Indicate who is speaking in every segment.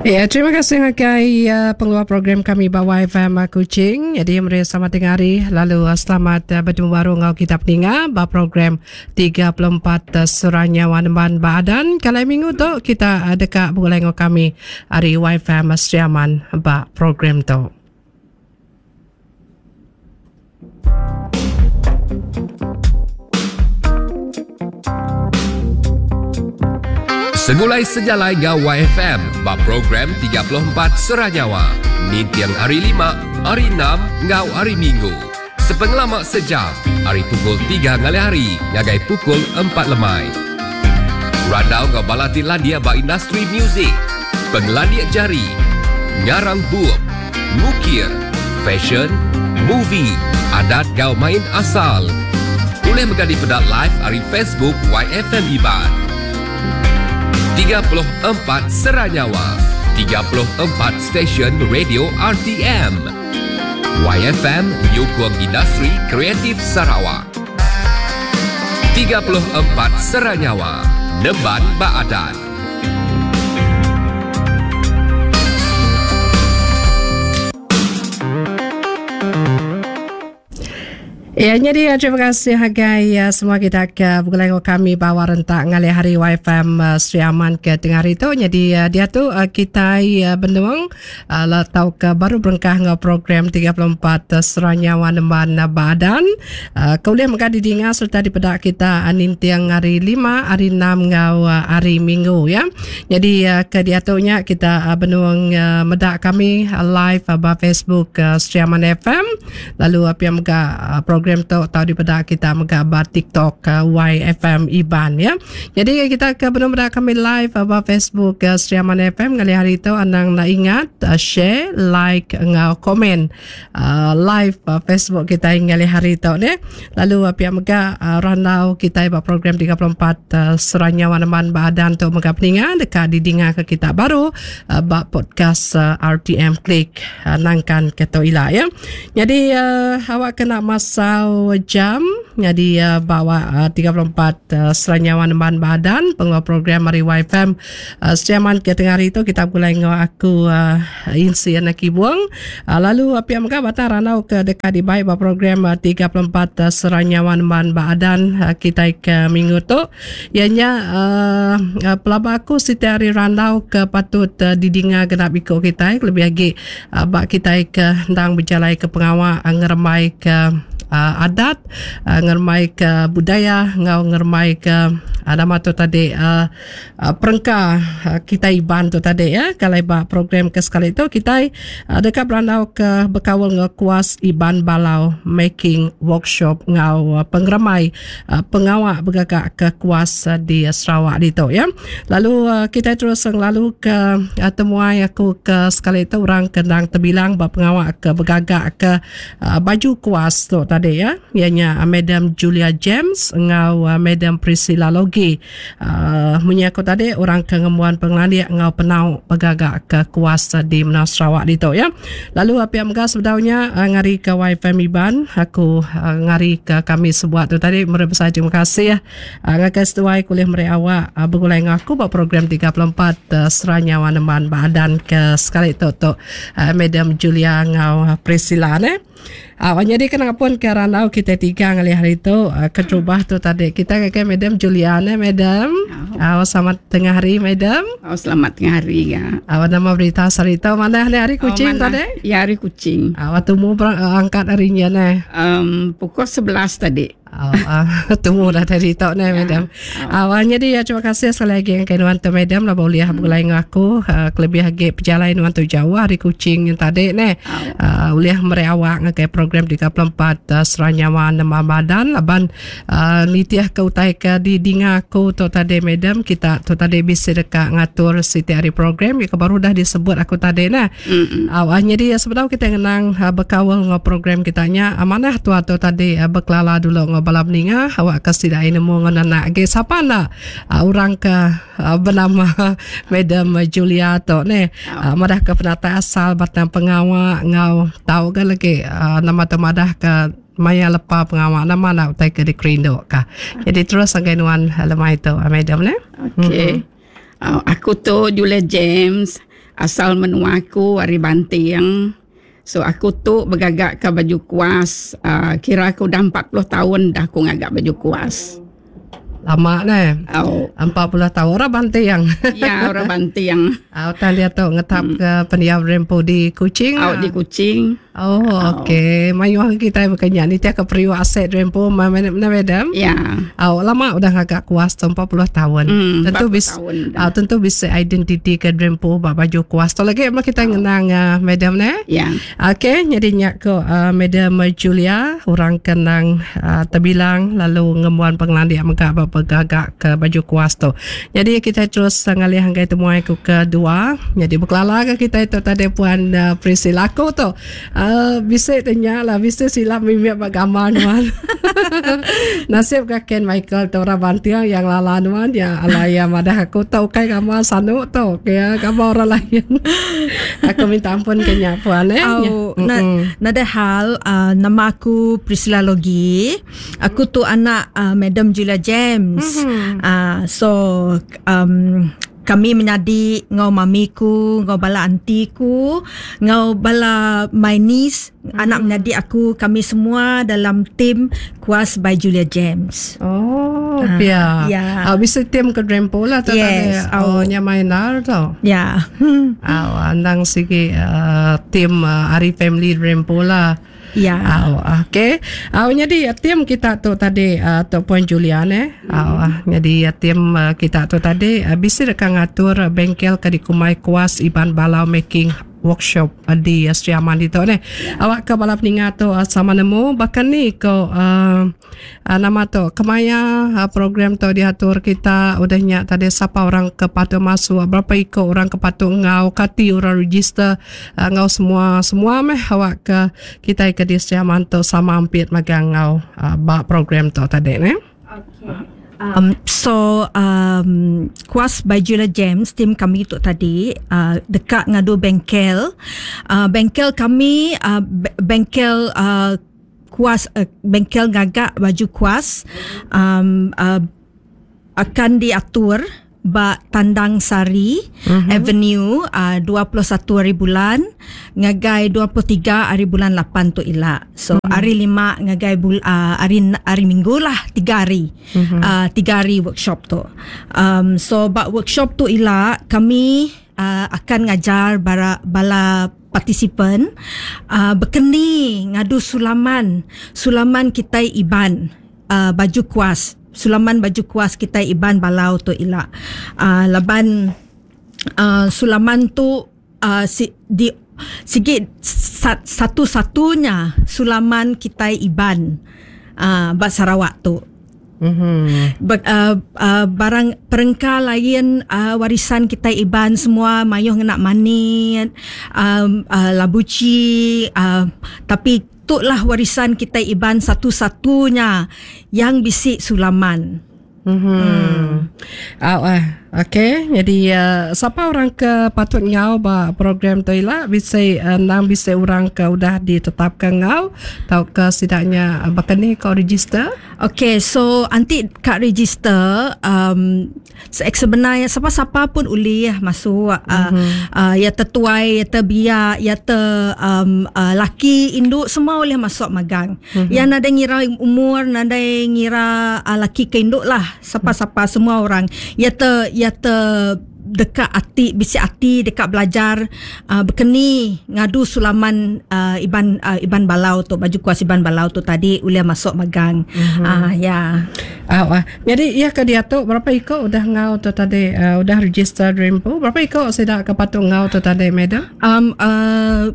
Speaker 1: Ya, terima kasih ngagai uh, pengeluar program kami ba YFM uh, Kuching. Jadi meri selamat tengah hari lalu uh, selamat uh, bertemu baru enggau kita peninga ba program 34 uh, Surah Nyawa Nemban ba Adan. Kalau minggu tu kita uh, deka begulai enggau kami ari YFM Sri Aman ba program tu.
Speaker 2: Segulai sejalai enggau YFM ba program 34 Sera Nyawa ninting hari Lima, hari Enam enggau hari Minggu. Sepengelama sejam ari pukul tiga ngalih hari ngagai pukul empat lemai. Randau enggau bala ti landik ba industri muzik, pengelandik jari, ngarang bup, ngukir, fashion, movie, adat enggau main asal. Ulih mega dipeda live ari Facebook YFM Iban. 34 Sera Nyawa, 34 stesen radio RTM. YFM nyukung industri kreatif Sarawak. 34 Sera Nyawa, nemban ba adat.
Speaker 1: Ya, jadi ya, terima kasih hagai ya, semua kita ke begulai dengan kami bawa rentak ngalih hari YFM uh, Sri Aman ke tengah hari tu. Jadi uh, dia tu uh, kita uh, benung uh, tau ke baru berengkah enggau program 34 uh, Seranyawa Nemban uh, Badan. Uh, ke ulih mega didinga sereta dipeda kita uh, ninting hari lima, hari enam enggau uh, hari minggu ya. Jadi uh, ke diatu nya kita uh, benung uh, meda kami uh, live uh, ba Facebook uh, Sri Aman FM lalu uh, pia mega uh, program tu tau dipeda kita mega ba TikTok uh, YFM Iban ya. Jadi kita ke benung meda kami live uh, ba Facebook uh, Sri Aman FM ngalih hari tu anang enda ingat uh, share, like enggau komen uh, live uh, Facebook kita ngalih hari tu ne. Lalu uh, pia mega uh, randau kita ba program 34 uh, Seranya Wanaman ba Adan tu mega peninga deka didinga ke kita baru uh, ba podcast uh, RTM Klik uh, nangkan ke tu ila ya. Jadi uh, awak kena masau jam jadi uh, bawa uh, 34 uh, Seranya Wanaman ba Adan pengeluar program ari YFM Uh, Setiaman ke tengah hari tu kita begulai enggau aku uh, Insi anak Kibung. Uh, lalu uh, pia mega batang randau ke deka dibai ba program uh, 34 uh, Seranyawan Man ba Adan uh, kita ke minggu tu. Ianya uh, uh, pelaba aku siti hari randau ke patut uh, didinga genap iko kita lebih agi uh, ba kita ke endang bejalai ke pengawa uh, ngerembai ke uh, adat uh, ngerembai ke budaya enggau ngerembai ke uh, nama tu tadi uh, Ah, perengka ah, kitai Iban tu tadi ya. Kalau ba program ke sekali tu kitai ah, deka berandau ke bekaul enggau kuas Iban Balau Making Workshop enggau pengeremai pengawa begaga ke kuas di Sarawak ditu ya. Lalu kitai terus ngelalu ke temuai aku ke sekali tu orang ke endang tebilang ba pengawa ke begaga ke baju kuas tu tadi ya. Iya nya Madam Julia James enggau Madam Priscilla Logi. Uh, munyi aku tadi orang ke ngembuan pengelandik enggau penau begaga ke kuas di menua Sarawak ditu ya. Lalu pia mega sebedaunya uh, ngari ke YFM Iban aku uh, ngari ke kami sebuat tu tadi meri besai terima kasih uh, ngagai seduai kulih meri awak uh, begulai enggau aku ba program 34 uh, Seranyawa Neman ba adan ke sekali tu tu uh, Madam Julia enggau Priscilla ne. Au nyadi kena pun ke randau kita tiga ngalih hari tu ah, keterubah tu tadi kita ngagai Madam Juliana Madam. Au selamat tengah hari Madam.
Speaker 3: Au selamat tengah hari ga.
Speaker 1: Au nama berita sehari tu manah ni hari Kuching
Speaker 3: oh,
Speaker 1: tadi?
Speaker 3: Ya hari Kuching.
Speaker 1: Au tumu angkat hari nya ne.
Speaker 3: Um, pukul 11 tadi.
Speaker 1: Oh, uh, tunggu dah tadi tok ni madam. Awalnya dia terima kasih sekali lagi dengan nuan tu madam lah boleh hmm. begulai dengan aku uh, kelebih lagi perjalanan nuan tu jauh hari Kuching yang tadi ni. Uh, boleh meri awak ngagai program 34 uh, Seranyawa Nama Badan laban uh, nitih ke utai ke di dinga aku tu tadi madam kita tu tadi bisa dekat ngatur siti hari program yang baru dah disebut aku tadi nah. Awak nyadi sebedau kita ngenang bekaul enggau program kita nya manah tua tu tadi bekelala dulu enggau bala peninga awak ke sida ai nemu enggau nenak agi sapa enda orang ke benama Madam Julia tu neh madah ke penatai asal batang pengawa enggau tau ga lagi nama tu madah ke maya lepa pengawa nama enda utai ke dikerindu ka. Jadi terus ngagai nuan lemai tu Madam neh.
Speaker 3: Okey. Aku tu Julia James. Asal menua aku ari Banting. So aku tu begaga ka baju kuas uhh kira aku udah 40 taun dah aku ngaga baju kuas.
Speaker 1: Lama neh. Au. 40 taun orang Banting.
Speaker 3: Ya orang Banting.
Speaker 1: Au tang diatu ngetap ke pendiau rempu di Kuching.
Speaker 3: Au di Kuching.
Speaker 1: Oh okey. Mayuh kitai baka nya nitih ke periuk aset rempu madam.
Speaker 3: Ya.
Speaker 1: Au lama udah ngaga kuas tu 40 taun. Tentu bis au tentu bisi identiti ke rempu ba baju kuas tu lagi meh kitai ngenang madam neh.
Speaker 3: Ya.
Speaker 1: Okey nyadi nya ko Madam Julia orang ke endang tebilang lalu ngembuan pengelandik mega ba begaga ke baju kuas tu. Nyadi kitai terus ngalih ngagai temuai ku ke dua nyadi bekelala ga kitai tu tadi puan Priscilla aku tu bisi te nya lah bisi silap mimit ba gambar nuan. Nasib ga Ken Michael tu orang Banting iya ngelala nuan iya alai iya madah aku tu ukai gambar sanu tu ke gambar orang lain. Aku minta ampun ke nya puan eh.
Speaker 4: Au, na, nadai hal uh, nama aku Priscilla Logi. Aku tu anak uh, Madam Julia James. Mm-hmm. Uh, so um, kami menyadi ngau mami ku, ngau bala auntie ku, ngau bala my niece, mm-hmm. anak menyadi aku, kami semua dalam team Kuas by Julia James.
Speaker 1: Oh, uh, pia.
Speaker 4: Ya.
Speaker 1: Uh, bisa team ke Drempo lah tu
Speaker 4: yes.
Speaker 1: tadi. Oh, nya main nar tu.
Speaker 4: Ya.
Speaker 1: Uh, andang sigi uh, team uh, Ari Family Drempo lah.
Speaker 4: Ya.
Speaker 1: Uh, okay. Uh, jadi team kita tu tadi uh, tu Puan Julian eh. Uh, jadi team uh, kita tu tadi uh, bisa dekat ngatur bengkel ke dikumai Kuas Iban Balau Making workshop di Sri Aman ditu neh. Awak ke bala peninga tu sama nemu baka ni ko uh, nama tu kemaya uh, program tu diatur kita udah nya tadi sapa orang ke patut masuk berapa iko orang ke patut enggau kati orang register uh, enggau semua semua meh awak ke kitai ke di Sri Aman tu sama ampit magang enggau uh, ba program tu tadi neh.
Speaker 4: Okay. Um, so um, Kuas by Julia James tim kami tu tadi uh, dekat ngadu bengkel. Uh, bengkel kami uh, bengkel uh, kuas uh, bengkel ngagak baju kuas um, uh, akan diatur ba Tandang Sari mm-hmm. Avenue uh, 21 hari bulan ngagai 23 hari bulan 8 tu ila. So mm-hmm. hari lima ngagai bul, uh, hari hari Minggu lah 3 hari. Mm-hmm. Uh, 3 hari workshop tu. Um, so ba workshop tu ila kami uh, akan ngajar bara, bala partisipan uh, berkeni ngadu sulaman sulaman kitai Iban uh, baju kuas sulaman baju kuas kitai Iban Balau tu ila. Uh, laban uh, sulaman tu uh, si, di sigi satu-satunya sulaman kitai Iban uh, ba Sarawak tu.
Speaker 1: Mm-hmm.
Speaker 4: Ba, uh, uh, barang perengka lain uh, warisan kitai Iban semua mayuh ngena manit, um, uh, labuci, uh, tapi tu lah warisan kitai Iban satu-satunya yang bisi sulaman.
Speaker 1: Mm-hmm. Hmm. Oh, eh. Okey, jadi uh, siapa orang ke patut ngau ba program tu ila bisi uh, nang bisi orang ke udah ditetapkan ngau tau ke sidaknya uh, baka ni kau register?
Speaker 4: Okey, so anti kat register um, sebenarnya siapa-siapa pun ulih masuk uh, mm-hmm. uh, ya tertuai ya terbiak ya ter um, uh, laki induk semua boleh masuk magang. Mm-hmm. Ya nadai ngira umur, nadai ngira uh, laki ke induk lah, siapa-siapa mm-hmm. semua orang. Ya ter ya ter dekat ati bisi ati dekat belajar uh, berkeni ngadu sulaman uh, Iban uh, Iban Balau tu baju kuas Iban Balau tu tadi ulih masuk magang.
Speaker 1: Mm-hmm.
Speaker 4: Uh, ya.
Speaker 1: Uh, uh. Jadi ia ke dia tu berapa iko udah ngau tu tadi uh, udah register Dreampo berapa iko sida ke patut ngau tu tadi madam?
Speaker 4: Um uh,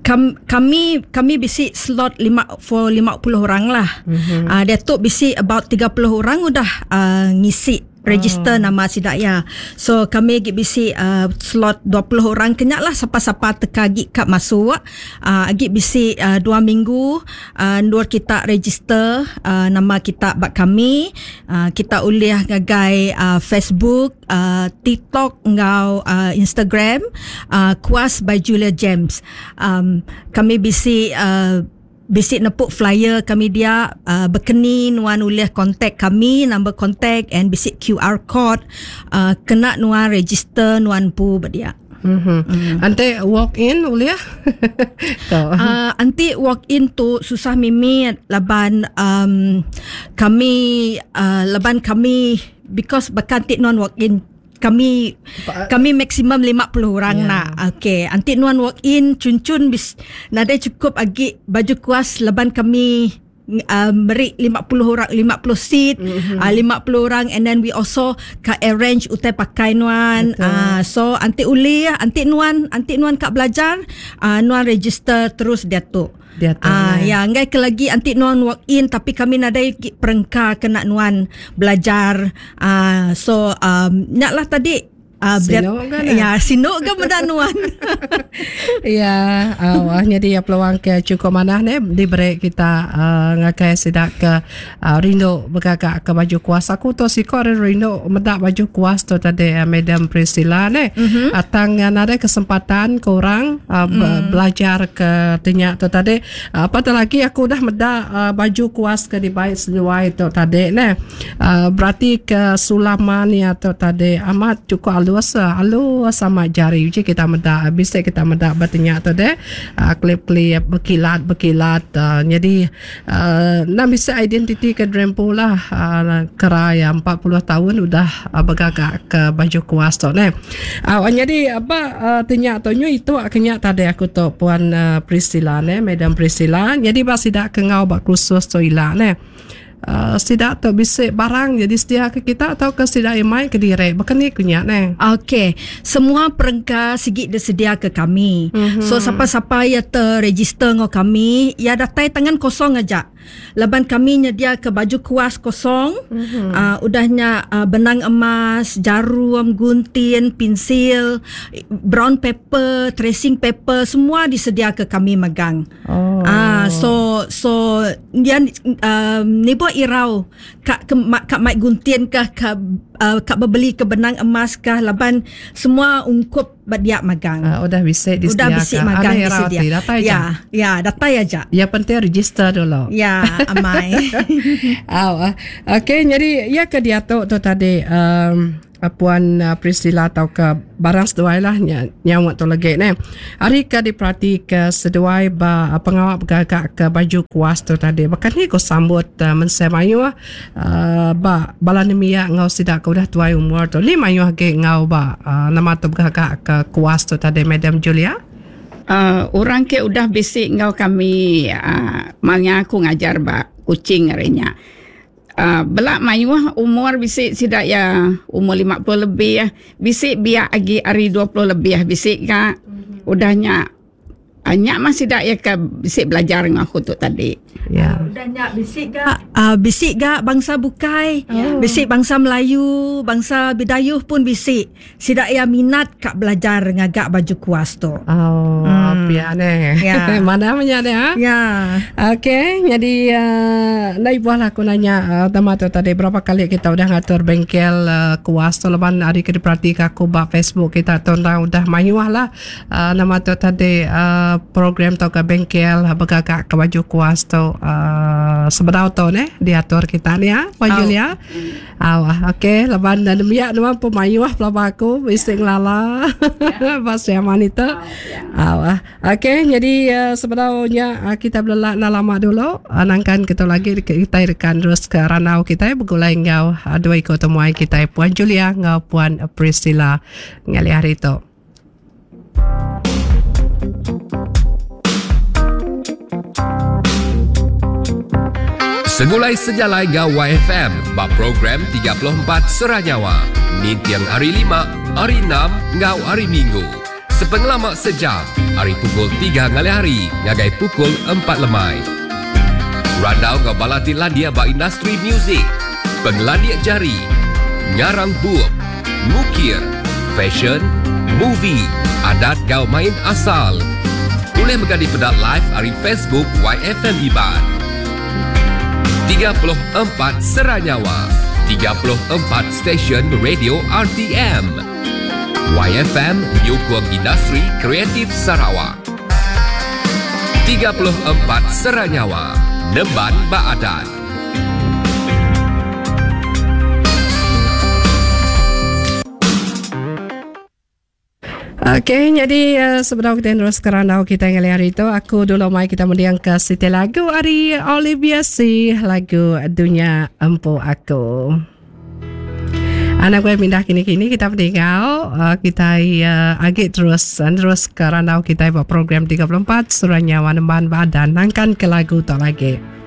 Speaker 4: kam, kami kami bisi slot 5 for 50 orang lah.
Speaker 1: Mm-hmm.
Speaker 4: Uh, dia tu bisi about 30 orang udah uh, ngisi register
Speaker 1: Oh.
Speaker 4: nama sidak ya. So kami gi bisi uh, slot 20 orang kenyak lah siapa-siapa teka gi kap masuk. Uh, gi bisi uh, 2 minggu uh, ndur kita register uh, nama kita bak kami. Uh, kita ulih ngagai uh, Facebook, uh, TikTok ngau uh, Instagram uh, Kuas by Julia James. Um, kami bisi uh, bisi nepuk flyer kami dia uh, berkeni nuan ulih kontak kami, number kontak and bisi QR code uh, kena nuan register nuan pu berdia.
Speaker 1: Mm. Enti walk in ulih?
Speaker 4: Tu. Enti walk in tu susah mimit laban um kami uh, laban kami because baka enti nuan walk in kami kami maksimum 50 orang yeah. nak. Okey, enti nuan walk in cun-cun bis nadai cukup agi baju kuas laban kami uh, meri 50 orang 50 seat mm-hmm. uh, 50 orang and then we also ka arrange utai pakai nuan uh, so anti uli anti nuan anti nuan ka belajar uh, nuan register terus dia tu
Speaker 1: dia tu
Speaker 4: uh, ya enggai ke lagi anti nuan walk in tapi kami nadai perengka kena nuan belajar uh, so um, nya lah tadi
Speaker 1: Uh, sinu
Speaker 4: ga ne? Ya, sinu ga meda nuan.
Speaker 1: ya, uh, jadi ya peluang ke cukup manah ne diberi kita uh, ngagai sida ke uh, rindu begaga ke baju kuas. Aku tu siko ari rindu meda baju kuas tu tadi uh, Madam Priscilla ne. Mm-hmm. Uh, tang uh, nadai kesempatan ke orang uh, mm. belajar ke tinya tu tadi. Uh, apatah lagi aku udah meda uh, baju kuas ke dibai seduai tu tadi ne. Uh, berarti ke sulaman iya tu tadi amat cukup alus alus amat jari uji kita meda bisi kita meda ba tinya tu deh uh, klip-klip bekilat bekilat uh, jadi uh, enda bisi identiti ke Drempu lah uh, kera iya 40 tahun udah uh, begaga ke baju kuas tu neh. Uh, jadi ba uh, tinya tu nyu itu ke nya tadi aku tu puan uh, Priscilla neh Madam Priscilla jadi ba sida ke ngau ba kursus tu ila neh. Uh, sida tu bisi barang jadi sedia ke kita atau ke sida iya mai kediri baka ni ku nya neh.
Speaker 4: Okey, semua perengka sigi disedia ke kami. Mm-hmm. So sapa-sapa iya terregister enggau kami, iya datai tangan kosong aja. Laban kami nyedia ke baju kuas kosong, mm-hmm. uh, udah nya uh, benang emas, jarum, gunting, pinsil, brown paper, tracing paper semua disedia ke kami megang.
Speaker 1: Oh.
Speaker 4: Ah, so so dia um, nibo irau ka ke, ka mai gunting kah ka uh, ka bebeli ke benang emas kah laban semua ungkup ba dia magang.
Speaker 1: Uh, udah bisi
Speaker 4: Udah bisi magang
Speaker 1: disedia. Datai
Speaker 4: ya, ya, datai aja.
Speaker 1: Ya penting register dulu.
Speaker 4: Ya, amai.
Speaker 1: Oh, okey jadi ya ke diatu tu tadi um, Puan Priscilla tauka barang seduai lah nya nyaut tu legi neh. Ari ke diperati ke seduai ba pengawa begaga ke baju kuas tu tadi baka ni ku sambut mensia mayuh uhh ba bala nembiak enggau sida ke udah tuai umur tu ni mayuh agi enggau ba nama tu begaga ke kuas tu tadi Madam Julia.
Speaker 3: Uhh orang ke udah bisi enggau kami uhh maya aku ngajar ba Kuching ari nya. Uh, bela mayuh umur bisi sida iya umur 50 lebih bisi biak agi ari 20 lebih bisi ga mm-hmm. udah nya uh, nya mah sida iya ke bisi belajar enggau aku tu tadi.
Speaker 4: Ya. Udah nya bisi ga uh, bisi ga bangsa bukai, oh. Bisi bangsa Melayu, bangsa Bidayuh pun bisi. Sida iya minat ka belajar ngaga baju kuas tu.
Speaker 1: Oh, pia neh.
Speaker 4: Ya.
Speaker 1: Manah menya deh ha.
Speaker 4: Ya.
Speaker 1: Okey, jadi uh, enda ibuh lah aku nanya uh, tema tu tadi berapa kali kita udah ngatur bengkel uh, kuas tu laban ari ke diperatika aku ba Facebook kita tu endang udah mayuh lah uh, nama tu tadi uh, program tauka bengkel begaga ke baju kuas tu uh, sebedau tu neh diatur kita ni ha Puan oh. Julia. Au okey laban nembiak nuan pun mayuh pelaba aku bisi ngelala ba Sri Aman itu. Au okey jadi uh, sebedau nya uh, kita belelak enda lama dulu uh, nangkan kita lagi kita rekan terus ke randau kita begulai enggau uh, dua iku temuai kita Puan Julia enggau Puan Priscilla ngalih hari tu.
Speaker 2: Segulai sejalai enggau YFM ba program 34 Sera Nyawa ninting hari Lima, hari Enam enggau hari Minggu. Sepengelama sejam ari pukul 3 ngalih hari ngagai pukul 4 lemai. Randau enggau bala ti landik ba industri muzik, pengelandik jari, ngarang bup, ngukir, fashion, movie, adat enggau main asal. Ulih mega dipeda live ari Facebook YFM Iban. 34 Sera Nyawa, 34 stesen radio RTM. YFM nyukung industri kreatif Sarawak. 34 Sera Nyawa, nemban ba adat.
Speaker 1: Okey, nyadi uh, sebedau kita terus ke randau kita ngali hari tu, aku dulu mai kita mendiang ke siti lagu ari Olivia C, lagu Dunya Empu Aku. Anak gue mindah kini-kini kita meninggal uh, kita uh, agi terus uh, terus ke randau kita buat program 34 Surah Nyawa Nemban Badan nangkan ke lagu tu lagi.